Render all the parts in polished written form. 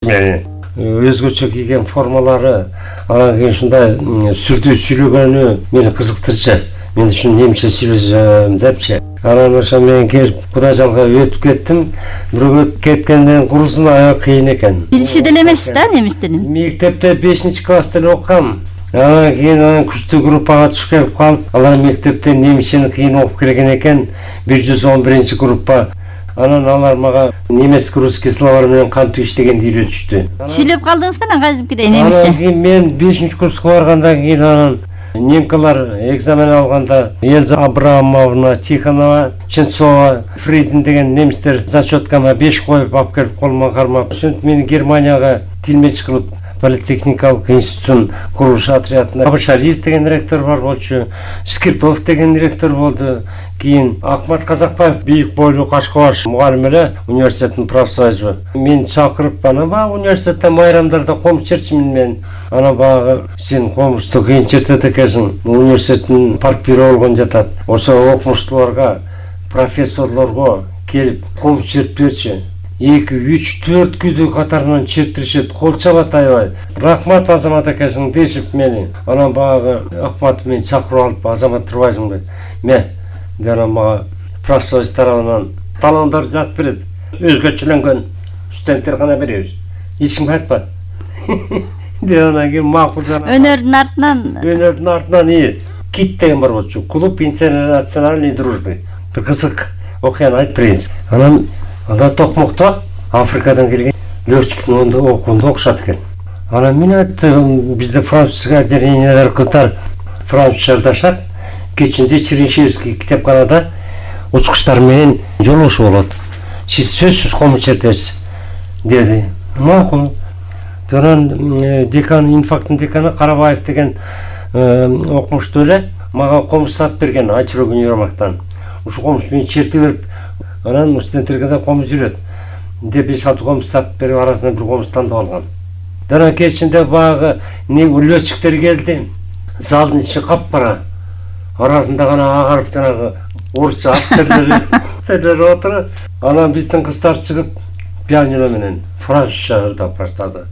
мени. Өзгөчө кийген формалары, анан кийин ушундай сүрдүү сүйлөгөнү мени кызыктырчу. Мен ушун немче сүйлөсөм депчи. Анан ошо мен келип Кудайжалга өтүп кеттим. Бирок өтүп кеткенден курусун аябай кыйын экен. Билиши деле эмессиз да немис тилин? Мектепте 5-класста эле окугам. Анан кийин күчтүү группага түшүп келип калып, алар мектепте немисчени кыйын окуп келген экен. 111-группа. Анан алар мага немец-русский словар менен кантип иштегенди үйрөтүштү. Сүйлөп калдыңызбы анан кайзипкидей немисче? Анан кийин мен 5-курска баргандан кийин анан немкалар экзамен алганда Эльза Абрамовна Тихонова, Ченцова, Фризин деген немистер зачеткама 5 коюп алып келип колума кармап, ошентип мени Германияга тилмеч кылып Политехникалык институттун курулуш отрядына Абашалиев деген ректор бар болчу, Скиртов деген ректор болду. Кийин Акмат Казакбаев бийик бойлуу Кашкабаш мугалим эле университеттин профсоюзу. Мен чакырып, анан баягы университетте майрамдарда комуз чертчимин мен. Анан баягы сен комузду кыйын чертет экенсиң. Университеттин партбюро болгон жатат. Ошо окумуштууларга, профессорлорго келип комуз чертип берчи. 2, 3, 4 күдү катарынан чертиришет, кол чабат аябай. Рахмат Азамат экенсиң дешип мени. Анан баягы Акмат мени чакырып алып, Азамат турбайсыңбы? Анан мага профсоюз тарабынан талондар жазып берет. Өзгөчөлөнгөн студенттер гана беребиз. Эч ким айтпайт. Анан кийин макул жана. Өнөрдүн артынан Кит деген бар болчу. Клуб интернациональной дружбы. Бир кызык окуяны айтып берейин. Анан анда Токмокто Африкадан келген летчиктин окуунда окушат экен. Анан мен айттым, бизде французга отделениялар кыздар французча жашат. Кечинде Чернышевский китепканада учкучтар менен жолугушуу болот. Сиз сөзсүз комуз чертесиз деди. Макул. Анан декан, инфактын деканы Карабаев деген окумуштуу эле мага комуз сатып берген Айчурок универмактан. Ушу комуз мени черти берип, анан студенттерге да комуз үйрөт деп 5-6 комуз сатып берип, арасынан бир комуз тандап алгам. Анан кечинде баягы летчиктер келди. Залдын ичи капкара. Арасында гана агарып жанагы орусча офицерлер отуруп, анан биздин кыздар чыгып пианино менен французча ырдап баштады.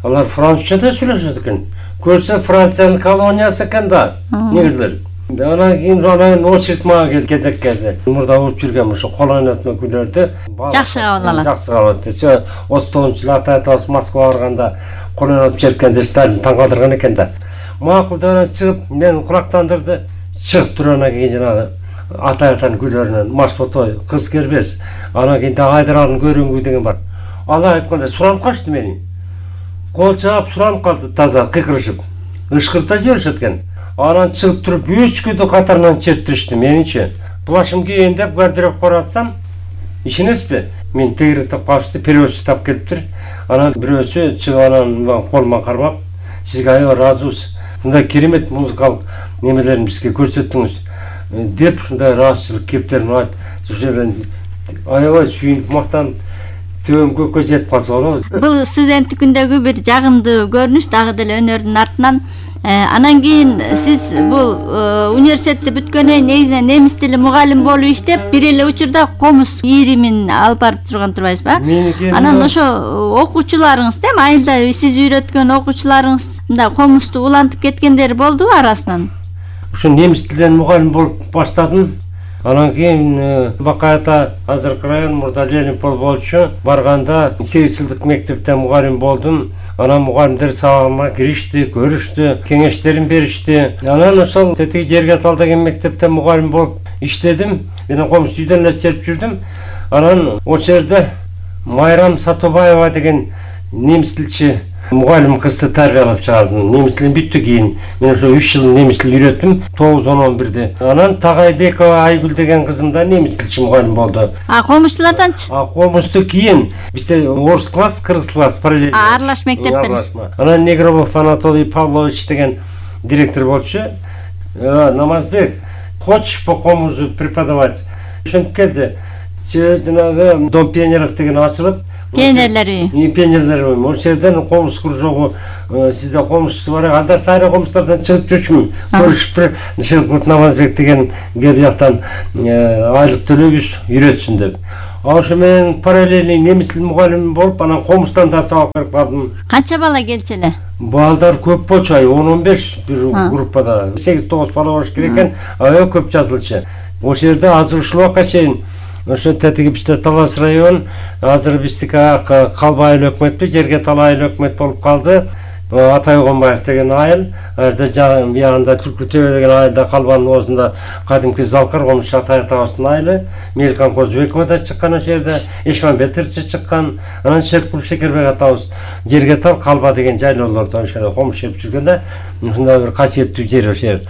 Алар французчада сүйлөшөт экен. Көрсө Франциянын колониясы экен да, негрлер. Анан кийин очередь мага келди, кезек келди. Мурда окуп жүргөн ошо кол ойнотмо күйлөрдү жакшы кабыл алат. Жакшы кабыл алат. 39-жылы ата-атабыз Москвага барганда кол ойноп жүргөндө Сталин таң калтырган экен да. Макулдан чыгып мен кулактандырды. Чыгып туруп анан кийин жанагы ата-атанын күйлөрүнөн Машботой, Кыз кербес, анан кийин Айдаралдын көрүнгү деген бар. Алар айтканда суранып калышты мени. Кол чаап суранып калды таза кыйкырышып. Ышкырта жиберишет экен. Анан чыгып туруп 3 күдү катарынан чертиришти меничи. Плашым кийин деп гардероб коратсам, ишенесизби? Мен тегиретип калышты, переводчу тап келиптир. Анан бирөөсү чыгып анан колума кармап, сизге аябай ыраазыбыз. Мындай керемет музыкалык немелерин бизге көрсөттүңүз деп ушундай ыраазычылык кептерин айтып, ошол жерден аябай сүйүнүп мактанып төбөм көккө жетип калса болобу. Бул студенттик күндөгү бир жагымдуу көрүнүш, дагы деле өнөрдүн артынан. Анан кийин сиз бул университетти бүткөндөн негизинен немис тили мугалим болуп иштеп, бир эле учурда комуз ийримин алып барып турган турбайсызбы? Анан ошо окуучуларыңыз, эми айылда сиз үйрөткөн окуучуларыңызда комузду улантып кеткендери болдубу арасынан? Ошо немис тилинен мугалим болуп баштадым. Анан кийин Бакайта азыркы район мурда Ленинпол болчу. Барганда 8 жылдык мектепте мугалим болдум. Анан мугалимдер сабагыма киришти, көрүштү, кеңештерин беришти. Анан ошол тетиги жерге тал деген мектепте мугалим болуп иштедим. Мен комуз үйдөн эле чертип жүрдүм. Анан ошол жерде Майрам Сатубаева деген немис тилчи мугалим кызды тарбиялап чыгардым. Немис тилин бүттү кийин. Мен ошо 3 жыл немис тилин үйрөттүм, 9-11-де. Анан Тагайбекова Айгүл деген кызым да немис тилчи мугалим болду. Комузчуларданчы? Комузду кийин бизде орус класс, кыргыз класс параллельно. Аралаш мектептер. Анан Негробов Анатолий Павлович деген директор болчу. Намазбек, хочешь по комузу преподавать? Ошентип келди. Жанагы Дом пионеров деген ачылып, пионерлер үйү. Пионерлер үйү. Ошол жерден комуз кружогу, сизде комузчу бар. Анда сайра комуздардан чыгып жүрчүмүн. Көрүшүп бир Нишелкут Намазбек деген кеп жактан айлык төлөйбүз, үйрөтсүн деп. Ошо менен параллельный немис тил мугалими болуп, анан комустан да сабак берип калдым. Канча бала келчү эле? Балдар көп болчу, 10-15 бир группада. 8-9 бала болуш керек экен, аябай көп жазылчу. Ошол жерде азыр ушул убакка чейин ошо тетиги бизде Талас район, азыр биздики калба айыл өкмөтпү, жерге талаа айыл өкмөт болуп калды. Атай Огонбаев деген айыл, биягында Түлкү Төбө деген айылда калбанын оозунда кадимки Залкар Комуш Атай атабыздын айылы, Меликан Козбекова да чыккан ошол жерде, Ишманбетович чыккан, анан Шеркул Шекербек атабыз жерге тал калба деген жайлоолордо ошо комуш жеп жүргөндө, ушундай бир касиеттүү жер ошол жер.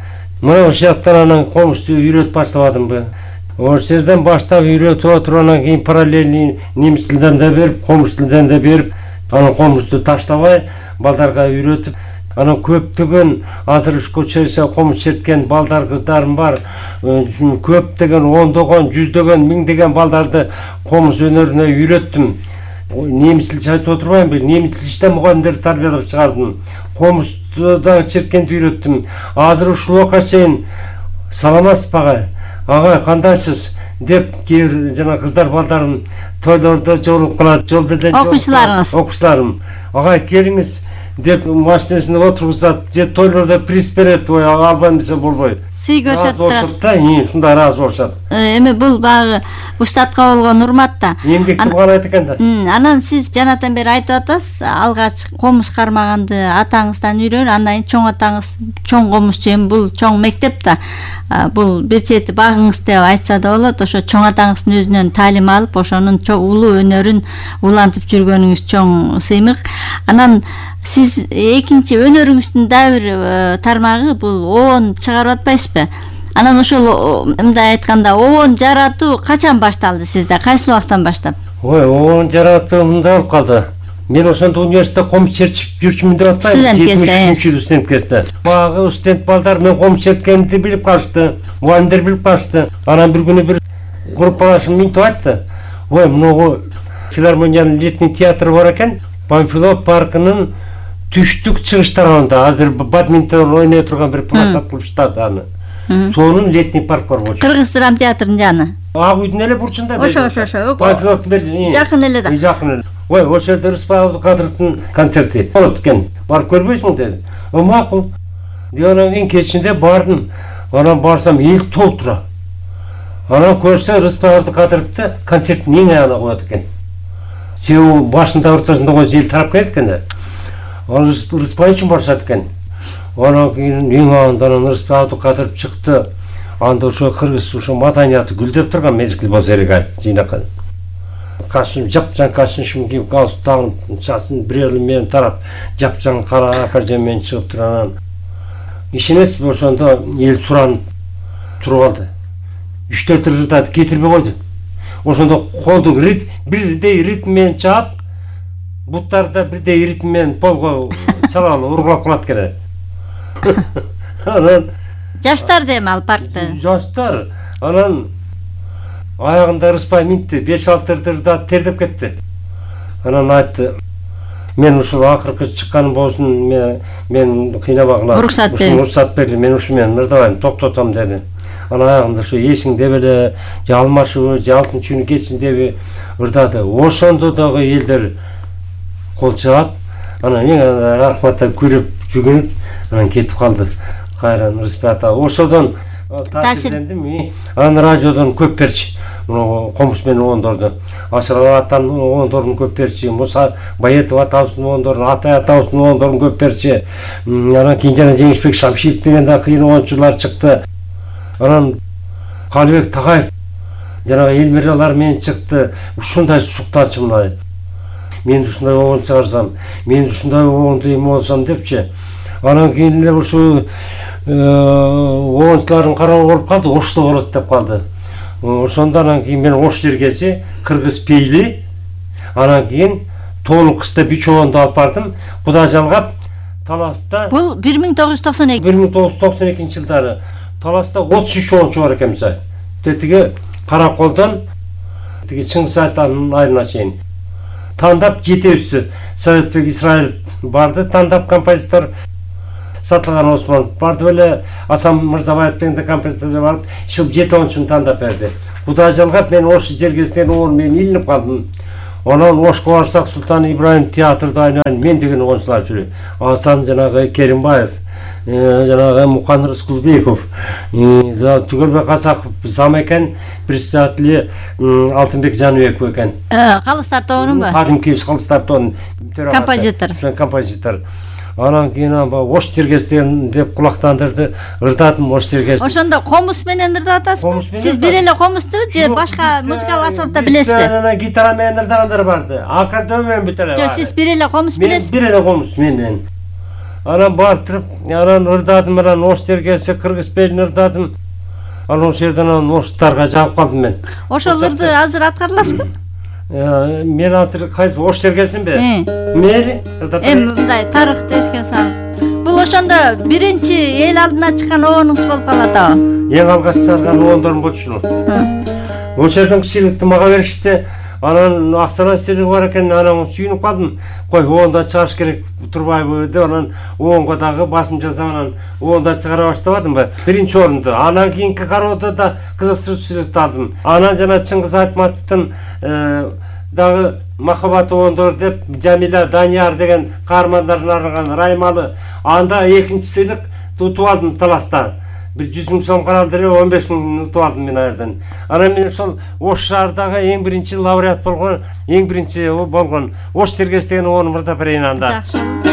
Мына ошол жактан анан комушту үйрөтүп баштабадымбы? Ошол жерден баштап үйрөтүп отуруп, анан кийин параллельный немис тилден да берип, комуш тилден да берип, анан комушту таштабай балдарга үйрөтүп, анан көптөгөн азыр ушул комуш черткен балдар, кыздарым бар. Көптөгөн, ондогон, жүздөгөн, миңдеген балдарды комуш өнөрүнө үйрөттүм. Немис тил айтып отурбаймынбы? Немис тилинен мугалимдерди тарбиялап чыгардым. Комушту да черкенди үйрөттүм. Азыр ушул убакка чейин саламатсызбы агай? Агай, кандайсыз? Деп кээ жана кыздар балдарым тойлордо жолугуп калат, жол беден окуучуларым. Агай, келиңиз деп машинасына отургузат, же тойлордо приз берет, албайм десе болбойт. Сый көрсөтүп турат да, ушундай ыраазы болушат. Эми бул багы уштатка болгон урмат да. Эмгектүү кылган айт экен да. Анан сиз жанатан бери айтып атасыз, алгач комуш кармаганды атаңыздан үйрөн, андан кийин чоң атаңыз чоң комушчу, эми бул чоң мектеп да. Бул бир чети багыңыз деп айтса да болот. Ошо чоң атаңыздын өзүнөн таалим алып, ошонун улуу өнөрүн улантып жүргөнүңүз чоң сыймык. Анан сиз экинчи өнөрүңүздүн дагы бир тармагы бул оон чыгарып атпайсызбы? Анан ошол мындай айтканда оон жаратуу качан башталды сизде? Кайсы убактан баштап? Оон жаратуу мындай болуп калды. Мен ошондо университетте комуш чертип жүрчүмүн деп атпайм. 73-жылы студент кезде. Багы студент балдар мен комуш черткенимди билип калышты. Мугалимдер билип калышты. Анан бир күнү бир группалашым минтип айтты. Ой, мына филармониянын летний театры бар экен. Панфилов паркынын түштүк чыгыш тарабында азыр бадминтон ойной турган бир площадка кылышты аны. Сонун летний парк бар болчу. Кыргыз драма театрынын жаны. Ак үйдүн эле бурчунда. Ошо. Панфиловдун жакын эле да. Жакын эле. Ой, ошол жерде Рыспай Абдыкадыровдун концерти болот экен. Барып көрбөйсүңбү деди. Макул. Анан кийин кечинде бардым. Анан барсам эл толтура. Анан көрсө Рыспай Абдыкадыровду концерттин эң аягына коет экен. Себеби башында ортосунда койсо эл тарап кетет экен да. Анан Рыспай үчүн барышат экен. Анан кийин эң аягында Рыспай Абдыкадыров чыкты. Анда ошо кыргыз ошо маданияты гүлдөп турган мезгил болсо керек ай, жыйнакан. Кашым жапжаң кашым кийип галстук тагып, чачын бирөөлү менен тарап, жапжаң кара акажем менен чыгып туруп анан ишенесизби, ошондо эл суранып туруп алды. 3-4 ырдады, кетирбей койду. Ошондо колду бирдей ритм менен чаап, буттарды бирдей ритм менен полго салалы ургулап калат экен. Анан жаштар дем ал паркта. Жаштар. Анан аягында Рыспай минтти, 5-6 ырдады, тердеп кетти. Анан айтты, мен ушул акыркы чыкканым болсун, мен кыйнабагыла. Уруксат берди, мен ушу менен ырдабайм, токтотом деди. Анан аягында ошо эсиң деп эле, же алмашыбы, же алтынчы күнү кетсин деп ырдады. Ошондо дагы элдер кол чаап, анан эң рахматтап күлүп, жүгүнүп, анан кетип калды. Кайран Рыспай ата. Ошодон таасирлендим. Анан радиодон көп берчи. Комуш менен оондорду. Ашыралы атанын оондорун көп берчи. Муса Баятов атабыздын оондорун, Атай атабыздын оондорун көп берчи. Анан кийин жана Жеңишбек Шамшиев деген да кыйын оончулар чыкты. Анан Калыбек Такаев жана Элмиралар менен чыкты. Ушундай суктанчы мына. Мен ушундай оон чыгарсам, мен ушундай оонду эме болсом депчи. Анан кийин эле ушу оончулардын карабы болуп калды, Ошто болот деп калды. Ошондо анан кийин мен Ош жергеси, Кыргыз пейли, анан кийин Тоолук кышта 3 оонду алып бардым. Кудай жалгап, Таласта бул 1992 жылдары Таласта 33 оончу бар экен мисалы. Тетиги Караколдон тиги Чыңгыз Айтанын айылына чейин тандап жетебизди. Советбек Исраил барды, тандап композитор Сатылган Осмонов барды эле Асан Мырзабаев деген композиторду барып шыл 7-10 тандап берди. Кудай жалгап мен Ош жергесинен оон мен илинип калдым. Анан Ошко барсак Султан Ибраим театрда айнайын мен деген оңчулар жүрөт. Асан жанагы Керимбаев, жанагы Мукан Рыскулбеков, Түгөлбек Казаков, Замекен, председатели Алтынбек Жаныбеков экен. Калыстар тобунунбу? Кадимки Калыстар тобунун композитор. Анан кийин Ош жергесинен деп кулактандырды, ырдадым Ош жергесин. Ошондо комуз менен ырдап атасызбы? Сиз бир эле комуздубу же башка музыкалык аспапта билесизби? Анан гитара менен ырдагандар барды. Аккордеон менен бүт эле. Жок, сиз бир эле комуз билесизби? Бир эле комуз менен. Анан бартырып, анан ырдадым, анан Ош жергеси Кыргыз белин ырдадым. Анан ошол жерден Оштарга жагып калдым мен. Ошол ырды азыр аткарыласызбы? Мен азыр кайсы Ош жергесинби? Мери мындай тарыхты эске салып. Бул ошондо биринчи эл алдына чыккан обоңуз болуп калат да. Эң алгач чыгарган обоңдорум болчу. Ошол жерден сыйлыкты мага беришти. Анан акчалай сыйлыгы бар экен, анан сүйүнүп калдым. Кой, обоңду чыгарыш керек турбайбы деп анан обоңго дагы басым жасап анан обоңду чыгара баштабадымбы? Биринчи орунду. Анан кийинки кароодо да кызыктыруу сыйлыкты алдым. Анан жана Чыңгыз Айтматовдун дагы Махаббат обоңдор деп Жамиля Данияр деген каармандардын аралган Раймалы. Анда экинчи сыйлык утуп алдым таласта. 100 000 сом каралды эле 15 000 утуп алдым мен аерден. Анан мен ошол Ош шаардагы эң биринчи лауреат болгон, эң биринчи болгон Ош жергеси деген обоңду ырдап берейин анда. Жакшы.